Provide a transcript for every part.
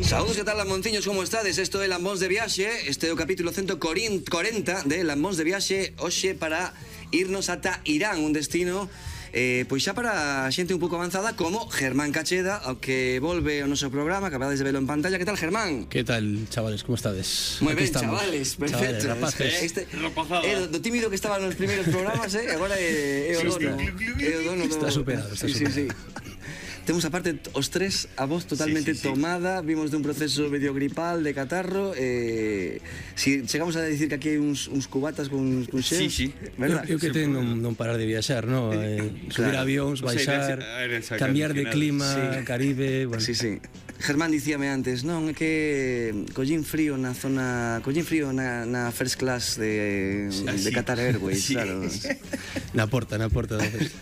Saúdos, que tal, Lamonciños, como estades? Isto é Lambóns de Viaxe. Este é o capítulo 140 de Lambóns de Viaxe. Hoxe para irnos ata Irán, un destino pois xa para a xente un pouco avanzada, como Germán Cacheda, ao que volve ao noso programa. Acabades de velo en pantalla. Que tal, Germán? Que tal, chavales, como estades? Moi ben, chavales, perfecto. Rapaces. Do tímido que estaba nos primeiros programas, agora é o dono. Está superado, está superado. Sí. Temos aparte os tres a voz totalmente tomada. Vimos dun proceso medio gripal de catarro. Si chegamos a decir que aquí hai uns cubatas con xel. Sí. Eu que ten non parar de viaxar, no? Subir avións, baixar, cambiar de clima, Caribe, bueno. Sí. Germán dicíame antes, non, é que collín frío na first class de Qatar Airways, claro. Na porta da vez.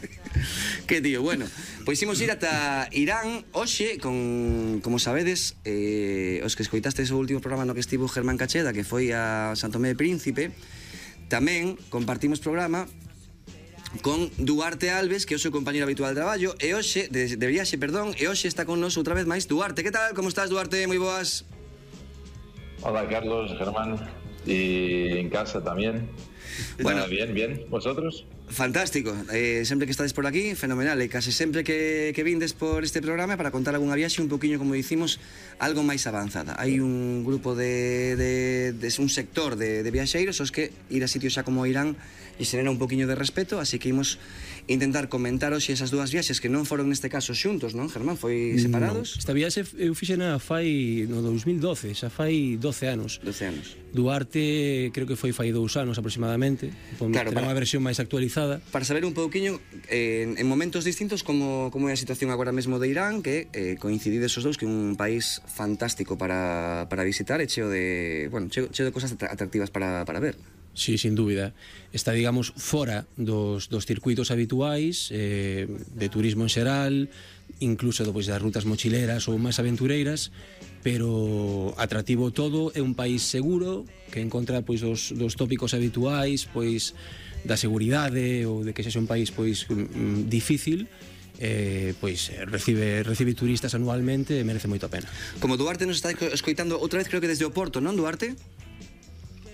Que tío, bueno, pois imos ir ata Irán hoxe con, como sabedes, os que escoitastes o último programa no que estivo Germán Cacheda, que foi a San Tomé de Príncipe. Tamén compartimos programa con Duarte Alves, que é o seu compañero habitual de traballo, e hoxe, de viaxe, perdón, e hoxe está con nos outra vez máis Duarte. Que tal? Como estás, Duarte? Moi boas. Hola, Carlos, Germán, y en casa también. Bueno, bien. ¿Vosotros? Fantástico, sempre que estades por aquí, fenomenal. E case sempre que vindes por este programa para contar algunha viaxe un poquinho, como dicimos, algo máis avanzada. Hai un grupo un sector de viaxeiros os que ir a sitios xa como Irán e xenera un poquinho de respeto, así que imos intentar comentar hoxe esas dúas viaxes que non foron neste caso xuntos, non, Germán? Foi separados? No. Esta viaxe eu fixena fai no 2012, xa fai 12 anos. Duarte creo que foi fai 2 anos aproximadamente. Claro, terá unha versión máis actualizada. Para saber un pouquiño en momentos distintos como é a situación agora mesmo de Irán, que coincidides os dous, que é un país fantástico para visitar e cheo de cosas atractivas para ver. Sí, sin dúbida. Está, digamos, fora dos circuitos habituais de turismo en xeral, incluso das rutas mochileras ou máis aventureiras, pero atractivo todo. É un país seguro que encontra dos tópicos habituais, da seguridade ou de que sexa un país difícil. Recibe turistas anualmente e merece moito a pena. Como Duarte nos está escoitando outra vez, creo que desde o Porto, non, Duarte?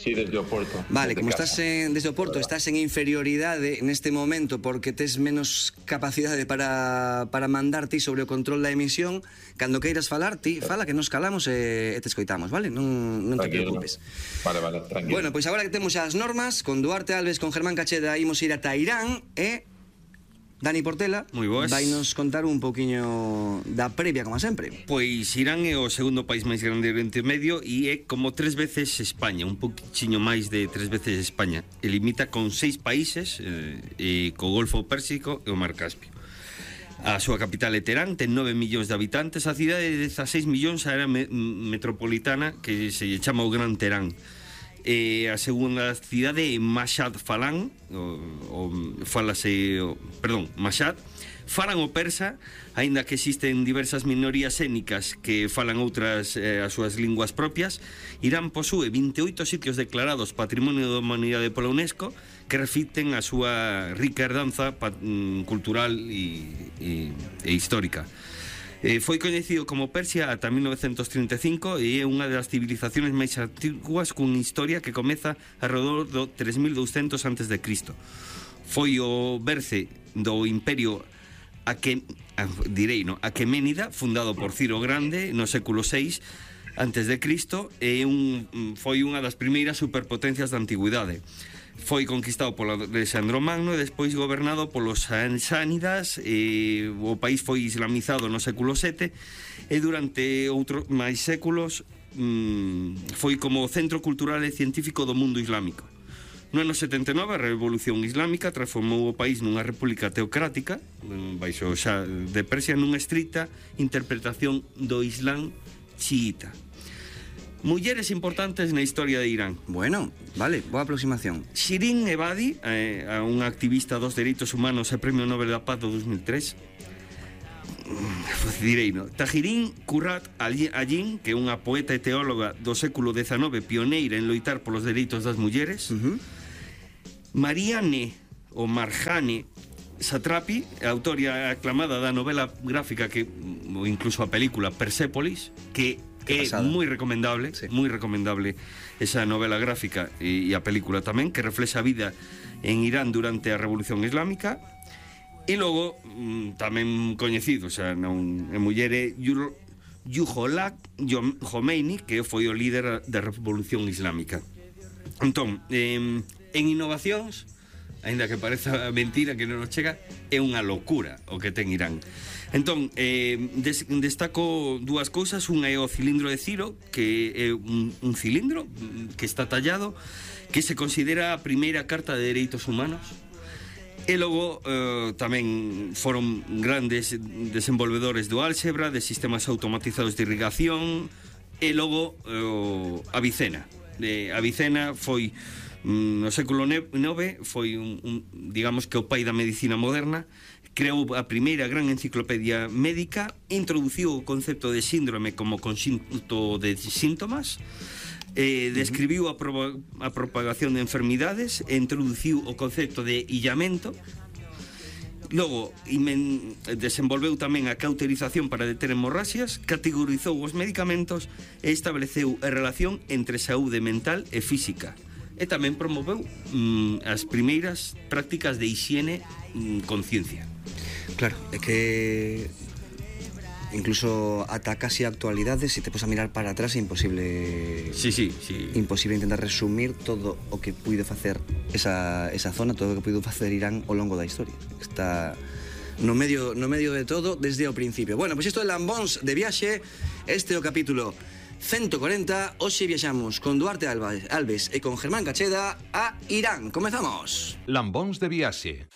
Sí, desde Oporto. Vale, como estás desde Oporto, estás en inferioridade neste momento porque tes menos capacidade para mandar ti sobre o control da emisión. Cando queiras falar, ti fala, que nos calamos e te escoitamos, vale? Non te preocupes. Vale, tranquilo. Bueno, pois agora que temos as normas, con Duarte Alves, con Germán Cacheda, imos ir ata Irán e Dani Portela vai nos contar un pouquiño da previa, como sempre. Pois Irán é o segundo país máis grande do Oriente Medio e é como 3 veces España, un poquinho máis de 3 veces España. E limita con 6 países, co Golfo Pérsico e o Mar Caspio. A súa capital é Teherán, ten 9 millóns de habitantes. A cidade de 16 millóns a área metropolitana, que se chama o Gran Teherán. A segunda cidade é Mashhad falan o persa, aínda que existen diversas minorías étnicas que falan outras as súas linguas propias. Irán posúe 28 sitios declarados Patrimonio da Humanidade pola UNESCO que reflicten a súa rica herdanza cultural e histórica. Foi coñecido como Persia ata 1935 e é unha das civilizaciones máis antiguas cunha historia que comeza alrededor do 3200 a.C. Foi o berce do Imperio Aqueménida, fundado por Ciro Grande no século VI a.C. e foi unha das primeiras superpotencias da antigüidade. Foi conquistado por Alexandro Magno e despois gobernado polos Sánidas. O país foi islamizado no século VII e durante outros máis séculos foi como centro cultural e científico do mundo islámico. No ano 79 a Revolución Islámica transformou o país nunha república teocrática baixo xa de Persia, nunha estricta interpretación do Islán chiita. Mulleres importantes na historia de Irán. Bueno, vale, boa aproximación. Shirin Ebadi, unha activista dos dereitos humanos e Premio Nobel da Paz do 2003. Direino. Tahirin Kurrat Ayin, que é unha poeta e teóloga do século XIX, pioneira en loitar polos dereitos das mulleres. Marianne ou Marjane Satrapi, autora aclamada da novela gráfica ou incluso a película Persépolis, que é moi recomendable, moi recomendable esa novela gráfica e a película tamén, que reflexa a vida en Irán durante a Revolución Islámica. E logo, tamén coñecido, xa non é muller, é Ayatollah Khomeini, que foi o líder da Revolución Islámica. Entón, en innovacións, aínda que pareza mentira que non nos chega, é unha locura o que ten Irán. Entón, destaco dúas cousas. Unha é o cilindro de Ciro, que é un cilindro que está tallado, que se considera a primeira carta de dereitos humanos. E logo tamén foron grandes desenvolvedores do álxebra, de sistemas automatizados de irrigación. E logo Avicena. Avicena foi no século IX, foi digamos que o pai da medicina moderna. Creou a primeira gran enciclopedia médica, introduciu o concepto de síndrome como conxunto de síntomas, describiu a propagación de enfermidades, introduciu o concepto de illamento. Logo, desenvolveu tamén a cauterización para deter hemorraxias, categorizou os medicamentos e estableceu a relación entre saúde mental e física. E tamén promoveu as primeiras prácticas de hixiene con ciencia. Claro, é que incluso ata casi a actualidade, se te pos a mirar para atrás, é imposible. Sí. Imposible intentar resumir todo o que puido facer esa zona, todo o que puido facer Irán ao longo da historia. Está no medio de todo desde o principio. Bueno, pois isto é Lambóns de Viaxe. Este é o capítulo 140. Hoxe viaxamos con Duarte Alves e con Germán Cacheda a Irán. Comezamos. Lambóns de Viaxe.